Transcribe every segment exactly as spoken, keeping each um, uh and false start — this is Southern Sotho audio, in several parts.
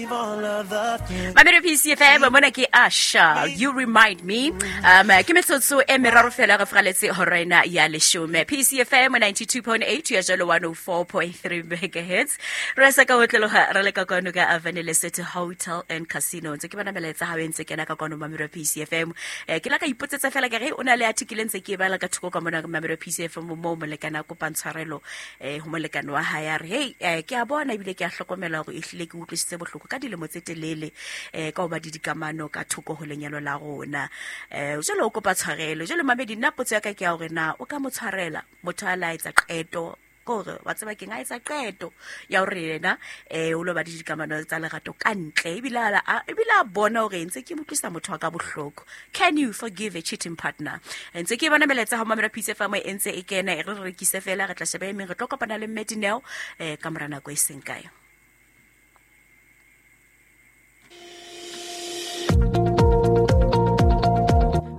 Mamelo P C F M, mona ke Asha, "You Remind Me". um ke metsotso e meraro fela re fraletse hora ena ya leshome. P C F M ninety-two point eight ya jalo one oh four point three megahertz. Re sa ka otlologa re le ka kwano ka Avenue Lesotho Hotel and Casino. Ntse ke bona melaetsa ha o ntse kena ka kwano, Mamelo P C F M. eh, ke la ka ipotsetsa fela ke re o na le article ntse ke e bala ka thoko ka mona, Mamelo P C F M, mo molekane a kopang tshwarelo eh ho molekane wa hae. A re, "Hey, eh, ke a bona ebile ke a hlokomela hore ehlile ke utlwisitse bohloko ka dilemo tse telele eh ka ho ba di dikamano ka thoko ho lenyalo la rona." eh jwale o kopa tshwarelo. Jwale mamedi, nna potso ya ka ke ya hore na o ka mo tshwarela motho a la etsa qeto kore wa tseba keng, a etsa qeto ya hore yena eh o lo ba le dikamano tsa lerato ka ntle, ebile a a- ebile a bona hore ntse ke mo utlwisa motho wa ka bohloko. Can you forgive a cheating partner? Ntse ke bona melaetsa ho mamela P C F M e ntse e kena. E re re rekise fela, re tla sheba e meng. Re tlo kopana le Mme Dineo eh ka mora nako e seng kae.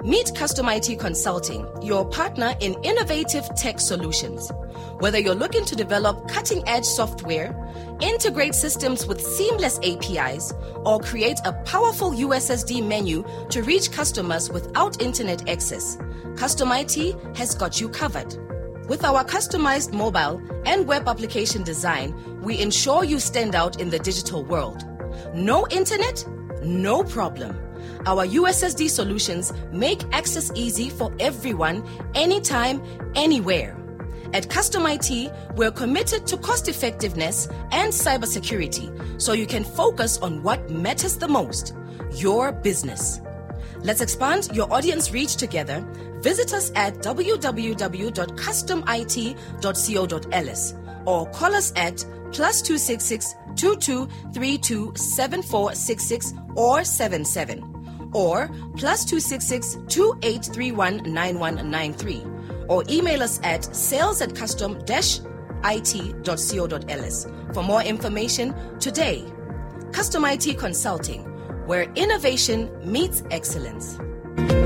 Meet Custom I T Consulting, your partner in innovative tech solutions. Whether you're looking to develop cutting edge software, integrate systems with seamless A P Is, or create a powerful U S S D menu to reach customers without internet access, Custom I T has got you covered. With our customized mobile and web application design, we ensure you stand out in the digital world. No internet? No problem. Our U S S D solutions make access easy for everyone, anytime, anywhere. At Custom I T, we're committed to cost effectiveness and cybersecurity so you can focus on what matters the most, your business. Let's expand your audience reach together. Visit us at w w w dot customit dot co dot ls or call us at plus two six six two two three two seven four six six or seven seven or plus two six six two eight three one nine one nine three or email us at sales at custom it dot co dot ls for more information today. Custom I T Consulting, where innovation meets excellence.